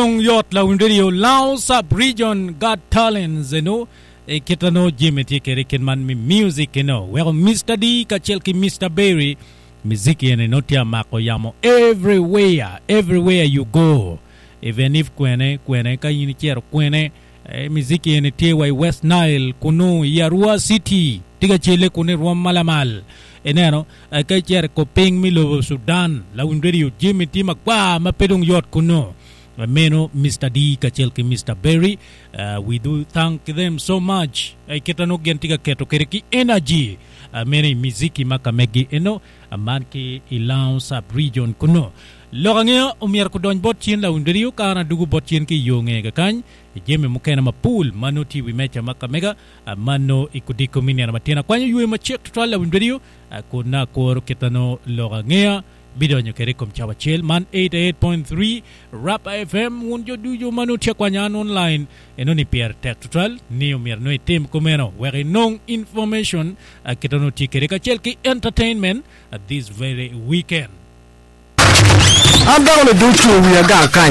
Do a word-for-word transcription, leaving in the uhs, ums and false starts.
Dong yot lawiny radio Lao Sub Region Got Talents eno e kita no jami tye kede kit man mi music eno weko Mister D kacel ki Mister Berry miziki eni no tye amako yamo everywhere everywhere you go even if kwene kwene ka in icito kwene eh, miziki eni tye wa i West Nile kunu i Arua City tye ka cele kunu i rwom malamal ineno eh, ka icito i kopiny me lobo Sudan lawiny radio jami tye magwar ma pe dong yot kunu meno Mister D kacel ki Mister Berry uh, we do thank them so much uh, kita no gin tye ka keto kede ki energy uh, meno i miziki ma ka megi eno uh, man ki i Lao Sub Region kunu lok angeyo omyero kudony bot cien lawiny radio ka an adugu bot cien ki i yo ngeye kakany i jami mukene mapol ma nongo tye i wi meja ma ka mega uh, ma nongo i kudiko me nino matino akwanyo ywe macek tutwal lawiny radio uh, kun na akuro kita nongo lok angeya bidonyo kede i kom cawa acel man eighty-eight point three Rapa F M wun jo ducu ma nongo tye kwanya an online eno ni pyere tek tutwal ni omyero nongo itim kumeno wek inong information uh, kita nongo tye kede kacel ki entertainment uh, this very weekend. An dako ni ducu wiya gang kany.